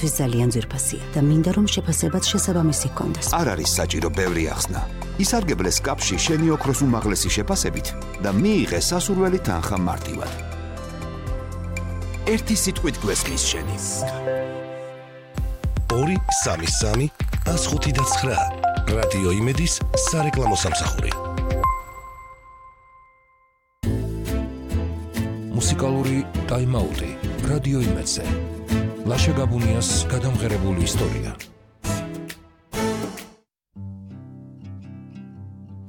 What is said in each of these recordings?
ჩემთვის ძალიან ძვირფასია და მინდა რომ შეფასებაც შესაბამისი ჰქონდეს. არ არის საჭირო ბევრი ახსნა. ისარგებლე სკაფში შენი ოქროს უმაღლესი შეფასებით და მიიღე სასურველი თანხა მარტივად. ერთი სიტყვით გვესმის შენი. 2-3-3-105-9 რადიო იმედის სარეკლამო სამსახური. მუსიკალური ტაიმაუტი რადიო იმედზე. ლაშა გაბუნიას გადამღერებული ისტორია.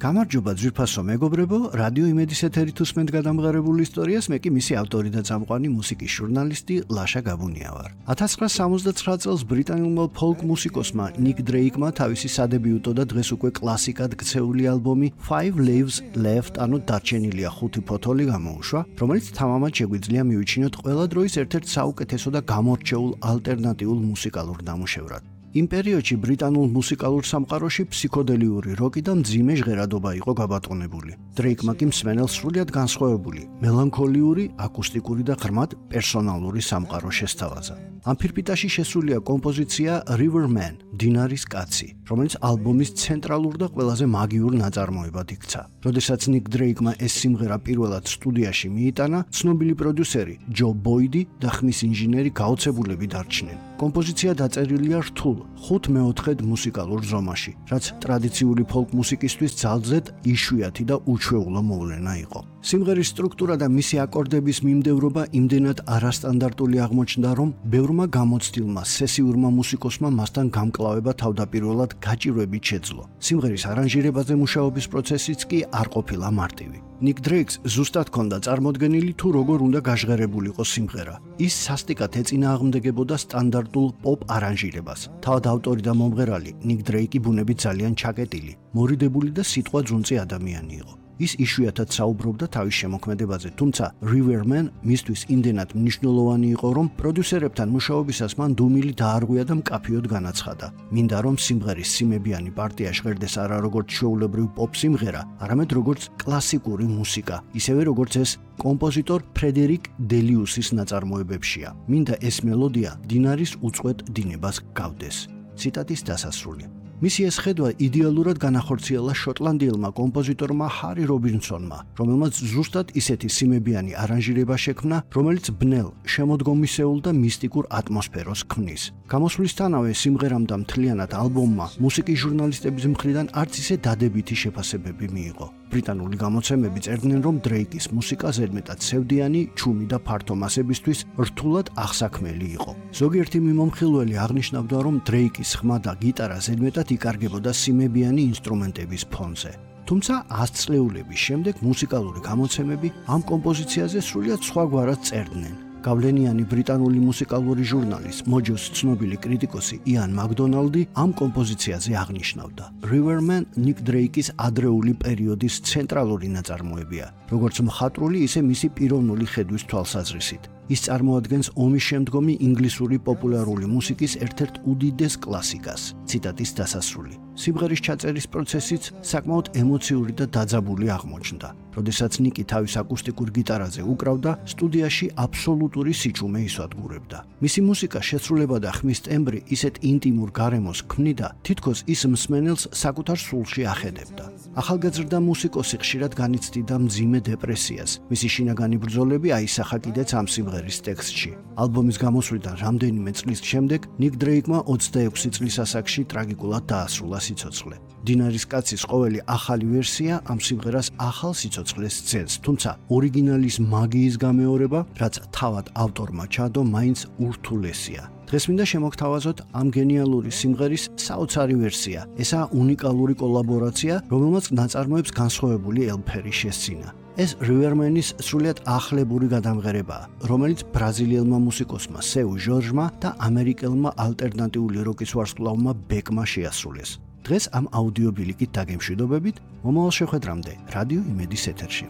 გამარჯობა ძვირფასო მეგობრებო, რადიო იმედის ეთერით უსმენთ გადამღერებული ისტორიას, მე კი მისი ავტორი და წამყვანი მუსიკის ჟურნალისტი ლაშა გაბუნია ვარ. 1979 წელს ბრიტანულმა ფოლკ მუსიკოსმა ნიკ დრეიკმა თავისი სადებიუტო და დღეს უკვე კლასიკად ქცეული ალბომი Five Leaves Left, ანუ დარჩენილია 5 ფოთოლი გამოუშვა, რომელიც თამამად შეგვიძლია მივიჩინოთ ყველა დროის ერთ-ერთ საუკეთესო და გამორჩეულ ალტერნატიულ მუსიკალურ ნამუშევრად. იმ პერიოდში ბრიტანულ მუსიკალურ სამყაროში ფსიქოდელიური როკი და მძიმე ჟღერადობა იყო გაბატონებული. დრეიკმა კი მსმენელს სრულიად განსხვავებული, მელანქოლიური, აკუსტიკური და ღრმად პერსონალური სამყარო შესთავაზა. ამ ფირფიტაში შესულია კომპოზიცია Riverman, დინარის კაცი, რომელიც ალბომის ცენტრალურ და ყველაზე მაგიურ ნაწარმოებად იქცა. როდესაც ნიკ დრეიკმა ეს სიმღერა პირველად სტუდიაში მიიტანა, ცნობილი პროდიუსერი ჯო ბოიდი და ხმის ინჟინერი გაოცებულები დარჩნენ. კომპოზიცია დაწერილია რთულ 5/4 მუსიკალურ ზომაში, რაც ტრადიციული ფოლკ მუსიკისთვის ძალზედ იშვიათი და უჩვეულო მოვლენა იყო. სიმღერის სტრუქტურა და მისი აკორდების მიმდევრობა იმდენად არასტანდარტული აღმოჩნდა, რომ ბევრმა გამოცდილმა სესიურმა მუსიკოსმა მასთან გამკლავება თავდაპირველად გაჭირვებით შეძლო. სიმღერის არანჟირებაზე მუშაობის პროცესიც კი არ ყოფილა მარტივი. ნიკ დრეიკს ზუსტად ჰქონდა წარმოდგენილი თუ როგორ უნდა გაჟღერებულიყო სიმღერა. ის სასტიკად ეწინააღმდეგებოდა სტანდარტულ პოპ არანჟირებას. თავად ავტორი და მომღერალი ნიკ დრეიკი ბუნებით ძალიან ჩაკეტილი, მორიდებული და სიტყვა ძუნწი ადამიანი იყო. ის იშვიათად საუბრობდა თავის შემოქმედებაზე, თუმცა Riverman მისთვის იმდენად მნიშვნელოვანი იყო, რომ პროდიუსერებთან მუშაობისას მან დუმილი დაარღვია და მკაფიოდ განაცხადა. მინდა რომ სიმღერის სიმებიანი პარტია ჟღერდეს არა როგორც ჩვეულებრივ პოპ სიმღერა, არამედ როგორც კლასიკური მუსიკა, ისევე როგორც ეს კომპოზიტორ ფრედერიკ დელიუსის ნაწარმოებებშია. მინდა ეს მელოდია დინარის უწყვეტ დინებას გავდეს. ციტატის დასასრული. მისი ეს ხედვა იდეალურად განახორციელა შოტლანდიელმა კომპოზიტორმა ჰარი რობინსონმა, რომელმაც ზუსტად ისეთი სიმებიანი არანჟირება შექმნა, რომელიც ბნელ, შემოდგომისეულ და მისტიკურ ატმოსფეროს ქმნის. გამოსვლისთანავე სიმღერამ და მთლიანად ალბომმა მუსიკის ჟურნალისტების მხრიდან არც ისე დადებითი შეფასებები მიიღო. ბრიტანული გამოცემები წერდნენ, რომ დრეიკის მუსიკა ზედმეტად სევდიანი, ჩუმი და ფართო მასებისთვის რთულად აღსაქმელი იყო. ზოგიერთი მიმომხილველი აღნიშნავდა, რომ დრეიკის ხმა და გიტარა ზედმეტად იკარგებოდა სიმებიანი ინსტრუმენტების ფონზე. თუმცა 100 წლეულების შემდეგ მუსიკალური გამოცემები ამ კომპოზიციაზე სრულიად სხვაგვარად წერდნენ. გავლენიანი ბრიტანული მუსიკალური ჟურნალის Mojo-ს ცნობილი კრიტიკოსი იან მაკდონალდი ამ კომპოზიციაზე აღნიშნავდა: Riverman ნიკ დრეიკის ადრეული პერიოდის ცენტრალური ნაწარმოებია, როგორც მხატვრული, ისე მისი პიროვნული ხედვის თვალსაზრისით. ის წარმოადგენს ომის შემდგომი ინგლისური პოპულარული მუსიკის ერთ-ერთ უდიდეს კლასიკას. ციტატის დასასრული. სიმღერის ჩაწერის პროცესიც საკმაოდ ემოციური და დაძაბული აღმოჩნდა. როდესაც ნიკი თავის აკუსტიკურ გიტარაზე უკრავდა, სტუდიაში აბსოლუტური სიჩუმე ისვადგურებდა. მისი მუსიკა შესრულება და ხმის ტემბრი ისეთ ინტიმურ გარემოს ქმნიდა, თითქოს ის მსმენელს საკუთარ სულში ახედებდა. ახალგაზრდა მუსიკოსი ხშირად განიცდიდა მძიმე დეპრესიას. მისი შინაგანი ბრძოლები აისახა კიდეც ამ სიმღერის ტექსტში. ალბომის გამოსვლიდან რამდენიმე წლის შემდეგ ნიკ დრეიკმა 26 წლის ასაკში ტრაგიკულად დაასრულა სიცოცხლე. დინარის კაცის ყოველი ახალი ვერსია ამ სიმღერას ახალ სიცოცხლეს ძენს, თუმცა ორიგინალის მაგიის გამეორება, რაც თავად ავტორმა ჩადო, მაინც ურთულესია. დღეს მინდა შემოგთავაზოთ ამ გენიალური სიმღერის საოცარი ვერსია. ესაა უნიკალური კოლაბორაცია, რომელმაც ნაწარმოებს განსხვავებული ელფერი შესძინა. ეს Riverman-ის სრულიად ახლებური გადამღერებაა, რომელიც ბრაზილიელმა მუსიკოსმა სეუ ჟორჟმა და ამერიკელმა ალტერნატიული როკის ვარსკვლავმა ბეკმა შეასრულეს. დღეს ამ აუდიო ბილიკით დაგემშვიდობებით, მომავალ შეხვედრამდე რადიო იმედის ეთერში.